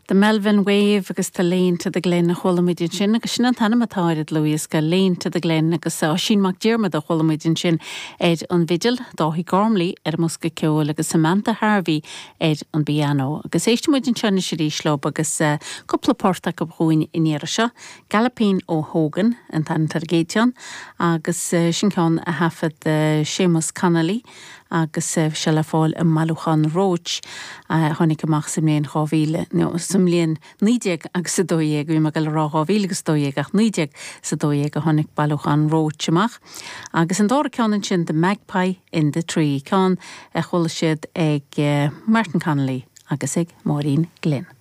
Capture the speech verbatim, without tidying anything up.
The Melvin Wave agus The Lane to the Glen a chuala muid ansin agus sin an t-ainm atá ar an dlúthdhiosca Lane to the Glen agus Oisín Mac Diarmada a chuala muid ansin ar an bhfidil, Dáithí Gormley ar an mbosca ceoil agus Samantha Harvey ar an bpianó. Agus éistfidh muid anseo arís leo agus uh, cúpla port acu dhúinn an iarraidh seo, Galopin O'Hogan an t-ainm ar an gcéad cheann agus uh, sin ceann a thaifead uh, Séamus Connolly agus uh, sé le fáil i mbailiúchán Roche uh, tháinig amach sa mbliain dhá mhíle sa mbliain naoi déag agus a dó dhéag bhí mé ag rá dhá mhíle agus dó dhéag ach naoi déag is a dó dhéag a tháinig bailiúchán Roche amach. Agus an dara ceann sin The Magpie in the Tree ceann a chuala siad ag uh, Martin Connolly agus ag Máirín Glynn.